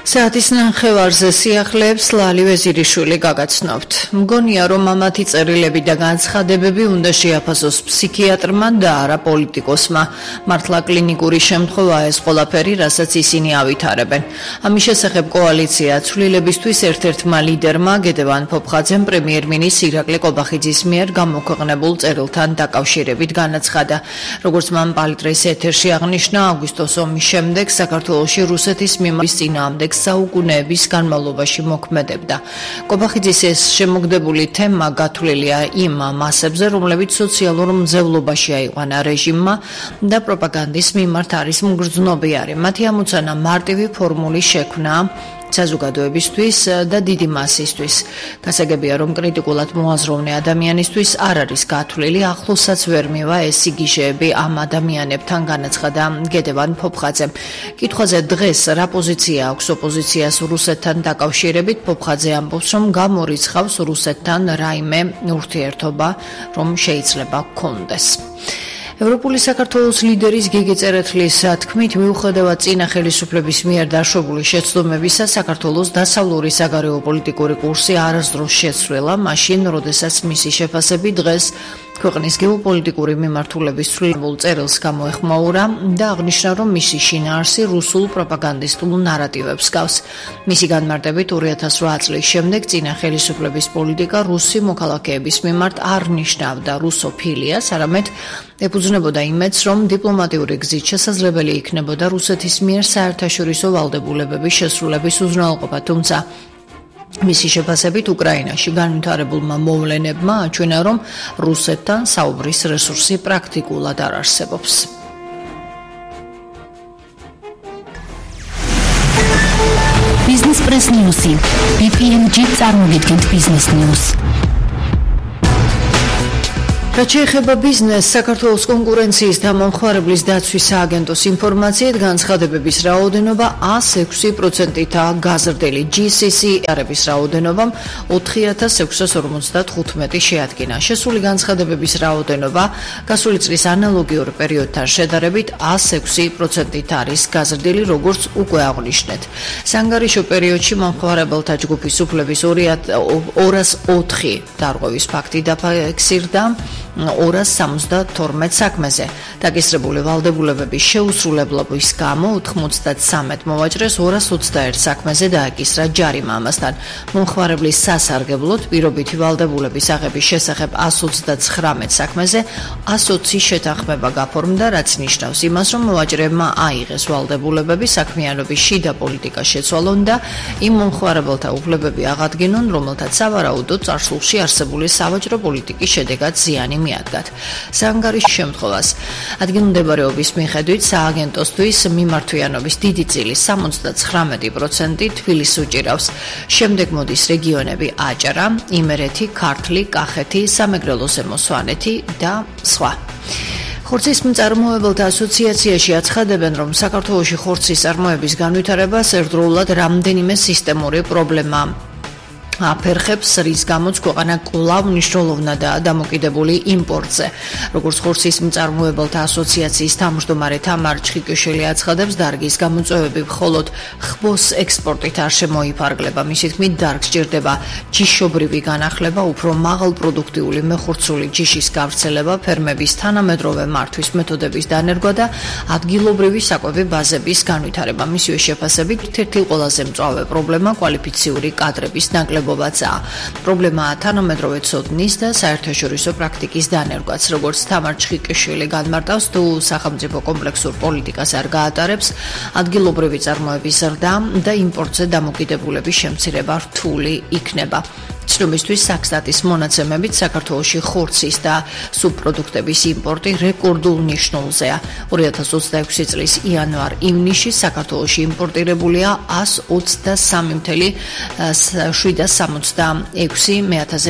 საათის ნახევარზე სიახლეებს ლალი ვეზირიშვილი გაგაცნობთ. მგონია, რომ ამათი წერილები და განცხადებები უნდა შეაფასოს ფსიქიატრმა და არა პოლიტიკოსმა. მართლა კლინიკური შემთხვევაა ეს ყველაფერი, რასაც ისინი ავითარებენ. ამის შესახებ კოალიცია ცვლილებისთვის ერთ-ერთმა ლიდერმა გედევან ფოფხაძემ პრემიერ-მინისტრ ირაკლი კობახიძის მიერ გამოქვეყნებულ წერილთან დაკავშირებით განაცხადა. როგორც მან პალიტრის ეთერში აღნიშნა, აგვისტოს ომის შემდეგ საქართველოში რუსეთის მიმართ წინააღმდეგ საუკუნეების განმავლობაში მოქმედებდა. კობახიძის ეს შემოგდებული თემა გათვლილია იმ მასებზე, რომლებიც სოციალურ მძევლობაში აიყვანა რეჟიმმა და პროპაგანდის მიმართ არის მგრძნობიარე. მათი ამოცანა მარტივი ფორმულის შექმნაა საზოგადოებისთვის და დიდი მასისთვის. გასაგებია, რომ კრიტიკულად მოაზროვნე ადამიანისთვის არ არის გათვლილი, ახლოსაც ვერ მივა ეს სიგიჟეები ამ ადამიანებთან, განაცხადა გედევან ფოფხაძემ. კითხვაზე დღეს რა პოზიცია აქვს ოპოზიციას რუსეთთან დაკავშირებით, ფოფხაძე ამბობს, რომ გამორიცხავს რუსეთთან რაიმე ურთიერთობა, რომ შეიძლება გქონდეს. ევროპული საქართველოს ლიდერის გიგი წერეთლის თქმით, მიუხედავად წინა ხელისუფლების მიერ დაშვებული შეცდომებისა, საქართველოს დასავლური საგარეო პოლიტიკური კურსი არასდროს შეცვლილა, მაშინ, როდესაც მისი შეფასები დღეს ქვეყნის გეოპოლიტიკური მიმართულების ცვლილებულ წერილს გამოეხმაურა და აღნიშნა, რომ მისი შინაარსი რუსულ პროპაგანდისტულ ნარატივებს გავს. მისი განმარტებით 2008 წლის შემდეგ წინა ხელისუფლების პოლიტიკა რუსი მოქალაქეების მიმართ არ ნიშნავდა რუსოფილიას, არამედ ეფუძნებოდა იმედს, რომ დიპლომატიური გზით შესაძლებელი იქნებოდა რუსეთის მიერ საერთაშორისო ვალდებულებების შესრულების უზრუნველყოფა, თუმცა მისი შეფასებით უკრაინაში განვითარებულმა მოვლენებმა აჩვენა, რომ რუსეთთან საუბრის რესურსი პრაქტიკულად არ არსებობს. Business Press News. BPMG წარმოგიდგენთ Business News. რაც შეეხება ბიზნესს, საქართველოს კონკურენციის და მომხმარებლის დაცვის სააგენტოს ინფორმაციით, განცხადებების რაოდენობა 106%-აა გაზრდილი. GCC-ების რაოდენობამ 4655 შეადგინა. შესული განცხადებების რაოდენობა გასული წლის ანალოგიურ პერიოდთან შედარებით 106%-ით არის გაზრდილი, როგორც უკვე აღნიშნეთ. სანგარიშო პერიოდში მომხმარებელთა ჯგუფის უფლების 204 დარღვევის ფაქტი დაფიქსირდა 272 საქმეზე. დაგისრებული ვალდებულებების შეუსრულებლობის გამო 93 მოვაჭრეს 221 საქმეზე დააკისრა ჯარიმა. ამასთან მომხმარებლის სასარგებლოდ პირობითი ვალდებულების აღების შესახებ 129 საქმეზე 120 შეთანხმება გაფორმდა, რაც ნიშნავს იმას, რომ მოვაჭრეებმა აიღეს ვალდებულებები, საქმიანობის შიდა პოლიტიკა შეცვალონ და იმ მომხმარებელთა უფლებები აღადგინონ, რომელთაც სავარაუდოდ წარსულში არსებული სავაჭრო პოლიტიკის შედეგად ზიანი მიადგათ. სანგარიშის შემთხვევას ადგილმდებარეობის მიხედვით სააგენტოსთვის მიმართვიანობის დიდი წილი 79% თბილისს უჭირავს. შემდეგ მოდის რეგიონები აჭარა, იმერეთი, ქართლი, კახეთი, სამეგრელოს ზემო სვანეთი და სხვა. ხორცის მწარმოებელთა ასოციაციაში აცხადებენ, რომ საქართველოში ხორცის წარმოების განვითარებას ერთდროულად რამდენიმე სისტემური პრობლემა აფერხებს, რის გამოც ქვეყანა კვლავ მნიშვნელოვნადაა დამოკიდებული იმპორტზე. როგორც ხორცის მწარმოებელთა ასოციაციის თავმჯდომარე თამარ ჩხიკიშვილი აცხადებს, დარგის გამოწვევები მხოლოდ ხბოს ექსპორტით არ შემოიფარგლება. მისი თქმით, დარგს სჭირდება ჯიშობრივი განახლება, უფრო მაღალპროდუქტიული მეხორცული ჯიშის გავრცელება, ფერმების თანამედროვე მართვის მეთოდების დანერგვა და ადგილობრივი საკვები ბაზების განვითარება. მისივე შეფასებით, ერთ-ერთი ყველაზე მწვავე პრობლემა კვალიფიციური კადრების ნაკლებობაა. პრობლემაა თანამედროვე ცოდნის და საერთაშორისო პრაქტიკის დანერგვაც. როგორც თამარ ჩხიკიშვილი განმარტავს, თუ სახელმწიფო კომპლექსურ პოლიტიკას არ გაატარებს, ადგილობრივი წარმოების ზრდა და იმპორტზე დამოკიდებულების შემცირება რთული იქნება. ცნობისთვის საქსტატის მონაცემებით საქართველოში ხორცის და სუბპროდუქტების იმპორტი რეკორდულ მნიშვნელზეა. 2026 წლის იანვარ-ივნისში საქართველოში იმპორტირებულია 123,766